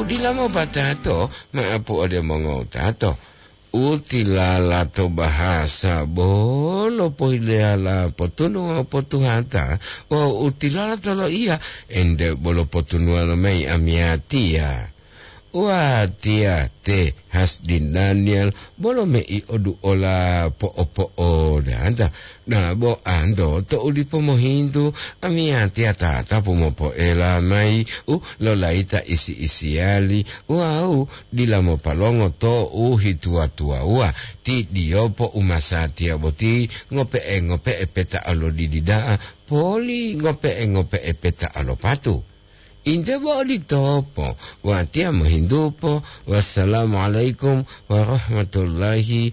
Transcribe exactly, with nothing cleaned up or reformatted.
Udila mopatato, maapu ode mongotato. Utilala to bahasa bolo pohileyala potunu wawu potuhata, wawu utilala to loiya ente bolo potunuwa lomayi amiyatiya. Watiya te Hasdin Daniel bolo mei oduola po'opo'odanta. Dabo anto tou dipo mohintu, amiyatiya tatapu mopoela mayi u lolayita isi-isiyali wawu dila mopalongo to u hituwa-tuwawuwa. Ti diyopo u masatiya boti ngope'e-ngope'e peta olodidi da'a poli ngope'e-ngope'e peta olopatu. Inte bo oditopo, watiya mohintupo. Wassalamualaikum warahmatullahi